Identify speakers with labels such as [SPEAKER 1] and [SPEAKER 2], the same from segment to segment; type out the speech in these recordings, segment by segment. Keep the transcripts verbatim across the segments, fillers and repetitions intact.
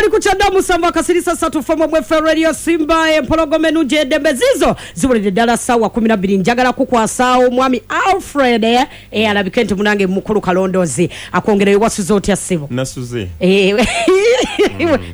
[SPEAKER 1] Tukyali ku kyenda musanvu akasirisa ssatu fomu mwefe Radio Simba, empologoma ennungi eddembe zizo ziwulidde ddala ssaawa kumi na bbiri. Njagala kukwasaawo omwami Alfred, eh, alabike nti munange mukulu kalondoozi akwongereyo. Wasuze otya, ssebo?
[SPEAKER 2] Nasuze.
[SPEAKER 1] Eh,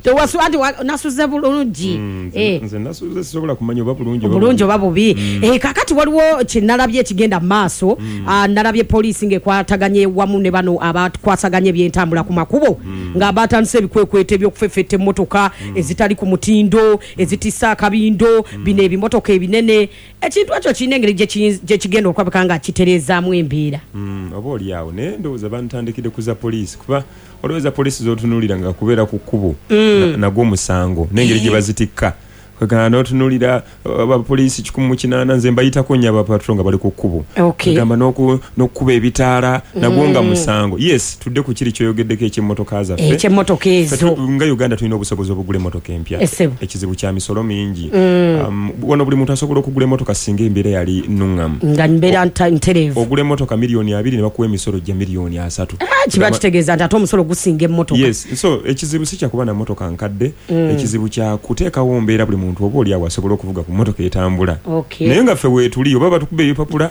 [SPEAKER 1] tewasu anti wa- nasuze bulungi.
[SPEAKER 2] Mm,
[SPEAKER 1] Eh.
[SPEAKER 2] nze nze nasuze, sisobola kumanya oba bulungi oba
[SPEAKER 1] Bulungi oba bubi. Eh, kakati waliwo kyenalabye ekigenda mu maaso. Ah, nalabye poliisi ng'ekwataganye wamu ne bano abakwasaganya ebyentambula ku makubo, nga batandise ebikwekweto ebyokufefetta emmotoka ezitali ku mutindo, ezitissa akabindo, bino ebimotoka ebinene. Ekintu ekyo kirina engeri gye kiyi- gye kigenda okulabika nga kitereezaamu embeera.
[SPEAKER 2] Mm, oba oli awo, naye ndowooza bantandikidde ku za poliisi, kuba olowooza poliisi zotunuulira nga kubeera ku kkubo na- nagwo musango n'engeri gye bazitikka. Kwegamba n'otunuulira uh, abapoliisi kikumi mu kinaana, nze mbayitako nnyo abapatro nga bali ku kkubo.
[SPEAKER 1] Okay.
[SPEAKER 2] Kwegamba n'oku- n'okukuba ebitaala nagwo nga musango. Yes, tudde ku kiri kyoyogeddeko ekyemmotoka zaffe.
[SPEAKER 1] Ekyemmotoka
[SPEAKER 2] Ffe
[SPEAKER 1] ezo.
[SPEAKER 2] tu- nga Uganda tulina obusobozi obugula emmotoka empya.
[SPEAKER 1] Essebo.
[SPEAKER 2] Ekizibu kya misolo mingi. Um, wano buli muntu asobola okugula emmotoka singa embeera yali nuŋŋamu,
[SPEAKER 1] nga mbeera nta- ntereevu.
[SPEAKER 2] Ogula emmotoka miliyoni abiri ne bakuwa emisolo gya miliyoni asatu.
[SPEAKER 1] Ah, kiba kitegeeza nti ate omusolo gusinga emmotoka.
[SPEAKER 2] Yes, so ekizibu si kyakuba na mmotoka nkadde, ekizibu kya kuteekawo mbeera buli muntu oba oli awo asobola okuvuga ku mmotoka etambula.
[SPEAKER 1] Okay.
[SPEAKER 2] Naye nga ffe weetuli oba batukuba ebipapula.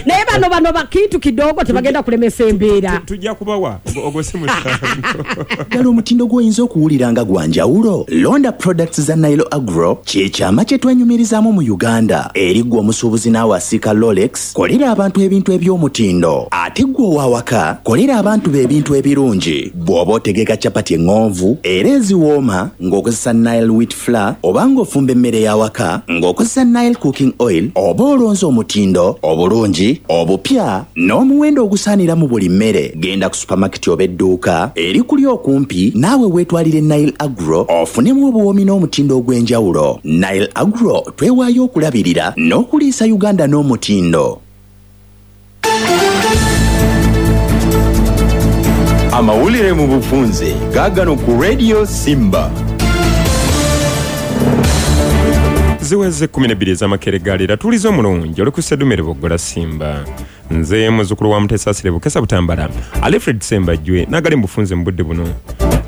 [SPEAKER 1] Naye bano bano bakintu kidogo tebagenda kulemesa embeera.
[SPEAKER 2] Tujja kubawa ogwo- ogwo si musango.
[SPEAKER 3] Ddala omutindo gw'oyinza okuwulira nga gwa njawulo, londa products za Nile Agro. Kyekyama kye twenyumirizaamu mu Uganda. Eri ggwe omusuubuzi naawe asiika Rolex, kolera abantu ebintu eby'omutindo. Ate ggwe ow'awaka, kolera abantu be ebintu ebirungi. Bw'oba otegeka capati eŋŋonvu era eziwooma ng'okozesa Nile wheat flour, oba ng'ofumba emmere y'awaka ng'okozesa Nile cooking oil, oba olonze omutindo, obulungi, obupya n'omuwendo ogusaanira mu buli mmere, genda ku supamaketi oba edduuka eri kuli okumpi naawe weetwalire Nile Agro ofunemu obuwoomi n'omutindo ogw'enjawulo. Nile Agro, twewaayo okulabirira n'okuliisa Uganda n'omutindo.
[SPEAKER 4] Amawulire mu bufunze gaagano ku Radio Simba.
[SPEAKER 2] Ziweze kumi na bbiri ez'amakerega. Tuliza omulungi oli ku Sedumere Boggola Simba. Nze muzzukulu wa Mutesaasire Bukesa Butambala, Alfred Sembajjwe, n'agali mu bufunze mu budde buno.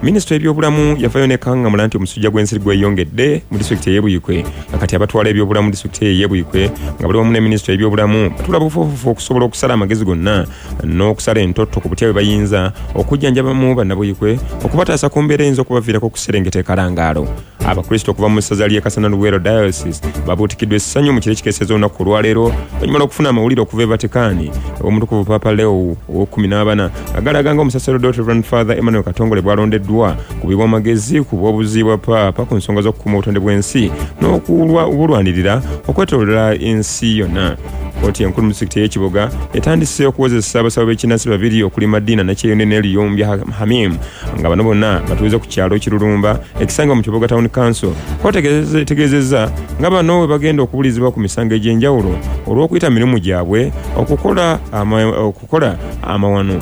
[SPEAKER 2] Minisitule y'ebyobulamu yavayo nekaŋŋamula nti omusujja gw'ensiri gweyongedde mu disitulikiti ey'e Buyikwe, nga kati abatwala ebyobulamu mu disitulikiti eyo ey'e Buyikwe nga bali wamu ne minisitule y'ebyobulamu batula bufuufufu okusobola okusala amagezi gonna n'okusala entotto ku butya bwe bayinza okujjanjabamu bannabuyikwe okubataasa ku mbeera eyinza okubaviirako okuserengeta ekalangaalo. Abakristo okuva mu ssaza ly'e Kasana Luweero Diocese babuutikiddwa essanyu mu kiro ekikeeseza olunaku olwaleero oluvannyuma lw'okufuna amawulire okuva e Vatikani omutukuvu Papa Leo ow'ekkumi n'abana agalaga nga omusaserodooti Reverend Father Emmanuel Katongole bw'alondeddwa kubibwa amagezi ku bw'obuzi bwa Paapa ku nsonga z'okukuuma obutonde bw'ensi n'okubulwanirira okwetoolola ensi yonna. Kooti enkulu mu disitulikiti ey'ekiboga etandise okuwozesa abasawo b'ekinnansi babiri okuli Madina Nakyeyune ne Luyombya Hamim, nga bano bonna batuuze ku kyalo Kirulumba ekisangibwa mu Kiboga Town Council. Kooti etegeezezza nga bano bwe bagenda okubulizibwa ku misango egy'enjawulo olw'okuyita mirimu gyabwe okukola ama- okukola amawano.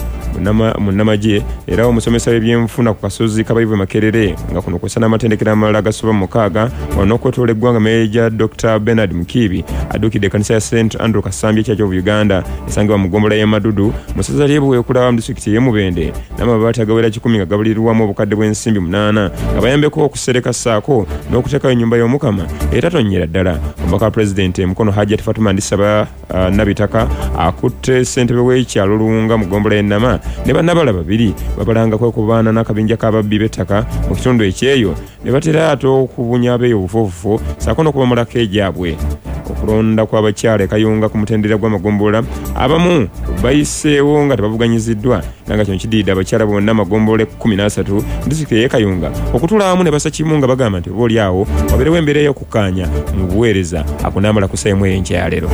[SPEAKER 2] Munnamagye era omusomesa w'ebyenfuna ku kasozi Kabayivu Makerere, nga kuno kw'ossa n'amatendekero amalala agasoba mu mukaaga wano n'okwetoola eggwanga, Meeja Doctor Bernard Mukiibi adduukidde ekkanisa ya Saint Andrew Kasambya Church of Uganda esangibwa mu ggombolola y'e Madudu mu ssaza ly'e Buweekula mu disitulikiti ey'e Mubende n'amabaati agawera kikumi nga gabulirwamu obukadde bw'ensimbi munaana nga bayambeko okusereka ssaako n'okuteekayo ennyumba y'Omukama etatonnyera ddala. Omubaka wa pulezidenti Mukono Hajat Fatuma Ndisaba uh, Nabitaka akutte ssentebe w'ekyalo Luwunga mu ggombolola y'Ennama ne bannabala babiri babalanga kwekubaana n'akabinja k'ababbi b'ettaka mu kitundu ekyeyo ne batera ate okubunya abeeyo obufuufufu ssaako n'okubamulako egyabwe. Okulonda kw'abakyala e Kayunga ku mutendera gw'amagombolola, abamu bayiseewo nga tebavuganyiziddwa, era nga kino kidiridde abakyala bonna amagombolola ekkumi n'asatu mu disitulikiti ey'e Kayunga okutuula awamu ne bassa kimu nga bagamba nti oba oli awo wabeerewo embeera ey'okukkaanya mu buweereza. Ako naamala ku ssaawa emu ey'enkya ya leero.